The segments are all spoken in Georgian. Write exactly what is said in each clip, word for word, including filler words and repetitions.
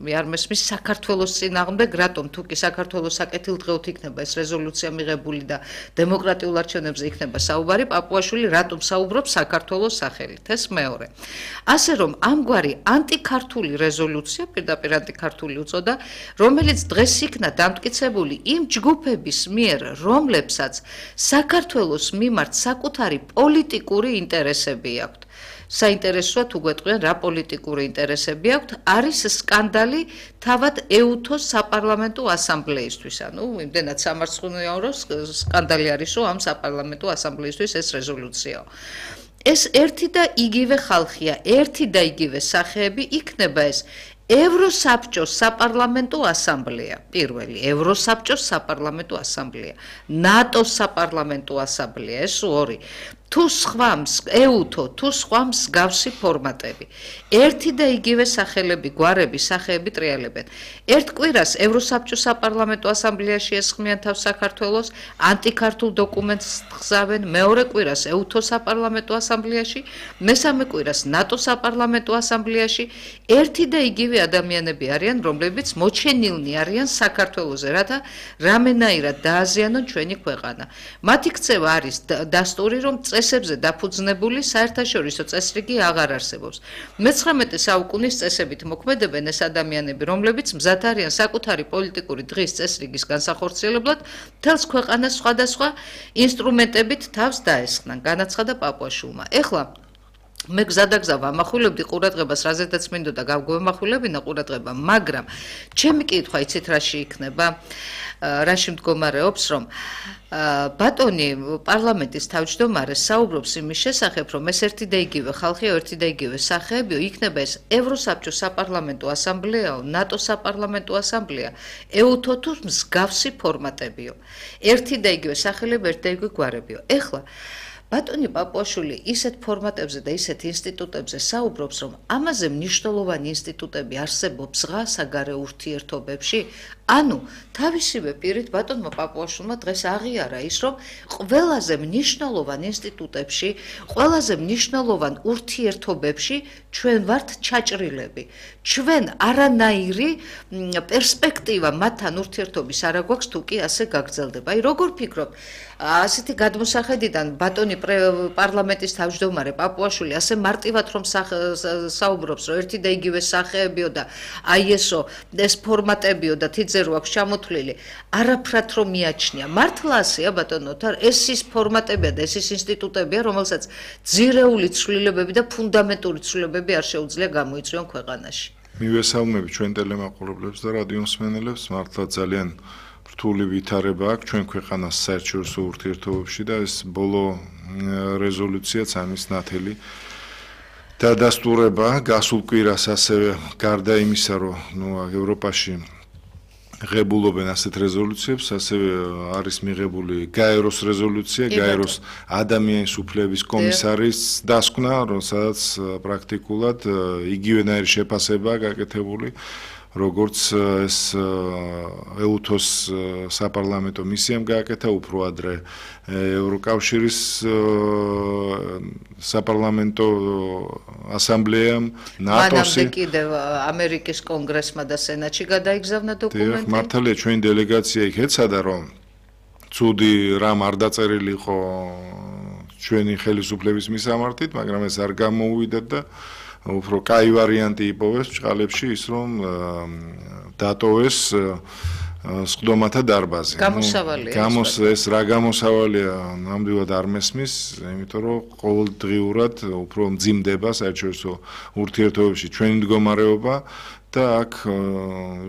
რეფერენდუმი არ მესმის საქართველოს წინააღმდეგ, რატომ თუ კი საქართველოს საკეთილდღეოდ იქნება ეს რეზოლუცია მიღებული და დემოკრატიულ არჩევნებზე იქნება საუბარი, პაპუაშვილი რატომ საუბრობს საქართველოს სახელით? ეს მეორე. ასე რომ ამგვარი ანტიქართული რეზოლუცია, პირდაპირ ანტიქართული უწოდა, რომელიც დღეს იქნა დამტკიცებული იმ ჯგუფების მიერ, რომლებსაც საქართველოს მიმართ საკუთარი პოლიტიკური ინტერესები აქვთ. საინტერესოა თუ გვეტყვიან რა პოლიტიკური ინტერესები აქვთ, არის სკანდალი თავად ეუთოს საპარლამენტო ასამბლეისთვის. ანუ იმდენად სამარცხვინოა, რომ სკანდალი არის, რომ ამ საპარლამენტო ასამბლეისთვის ეს რეზოლუციაა. ეს ერთი და იგივე ხალხია, ერთი და იგივე სახეები იქნება ეს ევროსაბჭოს საპარლამენტო ასამბლეა, პირველი, ევროსაბჭოს საპარლამენტო ასამბლეა, ნატოს საპარლამენტო ასამბლეა, ეს ორი. თუ სხვა ეუთო, თუ სხვა მსგავსი ფორმატები. ერთი და იგივე სახელები, გვარები, სახეები ტრიალებენ. ერთ კვირას ევროსაბჭოს საპარლამენტო ასამბლეაში ესხმიან თავს საქართველოს, ანტიქართულ დოკუმენტს გზავენ, მეორე კვირას ეუთოს საპარლამენტო ასამბლეაში, მესამე კვირას ნატოს საპარლამენტო ასამბლეაში. ერთი და იგივე ადამიანები არიან, რომლებიც მოჩენილნი არიან საქართველოზე, რათა რამენაირად დააზიანონ ჩვენი ქვეყანა. მათი ქცევა არის დასტური, რომ წესებზე დაფუძნებული საერთაშორისო წესრიგი აღარ არსებობს. მეცხრამეტე საუკუნის წესებით მოქმედებენ ეს ადამიანები, რომლებიც მზად არიან საკუთარი პოლიტიკური დღის წესრიგის განსახორციელებლად მთელს ქვეყანას სხვადასხვა ინსტრუმენტებით თავს დაესხნენ, განაცხადა პაპუაშვილმა. ეხლა მე გზადაგზა ვამახვილებდი ყურადღებას, რაზედაც მინდოდა გავგვემახვილებინა ყურადღება, მაგრამ ჩემი კითხვა იცით რაში იქნება, რაში მდგომარეობს, რომ ბატონი პარლამენტის თავმჯდომარე საუბრობს იმის შესახებ, რომ ეს ერთი და იგივე ხალხია, ერთი და იგივე სახეებიო, იქნება ეს ევროსაბჭოს საპარლამენტო ასამბლეაო, ნატოს საპარლამენტო ასამბლეა, ეუთო თუ მსგავსი ფორმატებიო. ერთი და იგივე სახელები, ერთი და იგივე გვარებიო. ეხლა ბატონი პაპუაშვილი ისეთ ფორმატებზე და ისეთ ინსტიტუტებზე საუბრობს, რომ ამაზე მნიშვნელოვანი ინსტიტუტები არსებობს ღა საგარეო ურთიერთობებში. ანუ თავისივე პირით ბატონმა პაპუაშვილმა დღეს აღიარა ის, რომ ყველაზე მნიშვნელოვან ინსტიტუტებში, ყველაზე მნიშვნელოვან ურთიერთობებში ჩვენ ვართ ჩაჭრილები. ჩვენ არანაირი პერსპექტივა მათთან ურთიერთობის არ აქვს, თუ კი ასე გაგრძელდება. აი როგორ ფიქრობ, ასეთი გადმოსახედიდან ბატონი პარლამენტის თავმჯდომარე პაპუაშვილი ასე მარტივად რომ საუბრობს, რომ ერთი და იგივე სახეებიო და აი ესო ეს ფორმატებიო და თიძე რო აქვს ჩამოთვლილი, არაფრად რომ მიაჩნია. მართლა ასეა ბატონო, ეს ის ფორმატებია და ეს ის ინსტიტუტებია, რომელსაც ძირეული ცვლილებები და ფუნდამენტური ცვლილებები არ შეუძლია გამოიწვიონ ქვეყანაში. მივესალმები ჩვენ ტელემაყურებლებს და რადიომსმენელებს, მართლა ძალიან რთული ვითარება აქვს ჩვენ ქვეყანას საერთაშორისო ურთიერთობებში და ეს ბოლო რეზოლუციაც ამის ნათელი დადასტურება გასულ კვირას ასევე გარდა იმისა, რომ ნუ ევროპაში ღებულობენ ასეთ რეზოლუციებს, ასევე არის მიღებული გაეროს რეზოლუცია, გაეროს ადამიანის უფლებების კომისარის დასკვნა, სადაც პრაქტიკულად იგივენაირი შეფასებაა გაკეთებული, როგორც ეს ეუთოს საპარლამენტო მისიამ გააკეთა, უფრო ადრე ევროკავშირის საპარლამენტო ასამბლეამ, ნატოსი. მანამდე კიდევ ამერიკის კონგრესმა და სენატში გადაიგზავნა დოკუმენტი. მართალია ჩვენი დელეგაცია იქ ეცადა, რომ ცუდი რამ არ დაწერილი იყო ჩვენი ხელისუფლების მისამართით, მაგრამ ეს არ გამოუვიდა და უფრო კაი ვარიანტი იპოვეს ბჭყალებში ის, რომ დატოვეს სხდომათა დარბაზი. გამოსავალია. გამოს ეს რა გამოსავალია ნამდვილად არ მესმის, იმიტომ რომ ყოველდღიურად უფრო მძიმდება საერთაშორისო ურთიერთობებში ჩვენი მდგომარეობა და აქ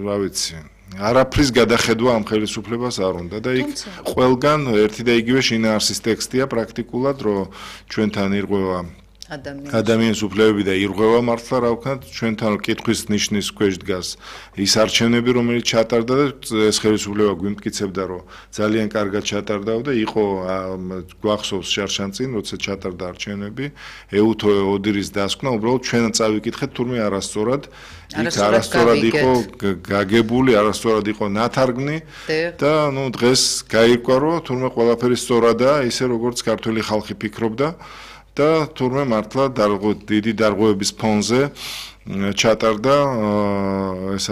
რა ვიცი არაფრის გადახედვა ამ ხელისუფლებას არ უნდა და იქ ყველგან ერთი და იგივე შინაარსის ტექსტია პრაქტიკულად, რომ ჩვენთან ირღვევა ადამიანის უფლებები და ირღვევა მართლა რა ვქნათ, ჩვენთან კითხვის ნიშნის ქვეშ დგას ის არჩევნები, რომელიც ჩატარდა და ეს ხელისუფლება გვიმტკიცებდა, რომ ძალიან კარგად ჩატარდა და იყო გვახსოვს შარშანწინ, როცა ჩატარდა არჩევნები, ეუთო ოდირის დასკვნა, უბრალოდ ჩვენ წავიკითხეთ, თურმე არასწორად იქ არასწორად იყო გაგებული, არასწორად იყო ნათარგმნი და ნუ დღეს გაირკვა, რომ თურმე ყველაფერი სწორადაა, ისე როგორც ქართველი ხალხი ფიქრობდა. და თურმე მართლა დიდი დარღვევების ფონზე ჩატარდა ეს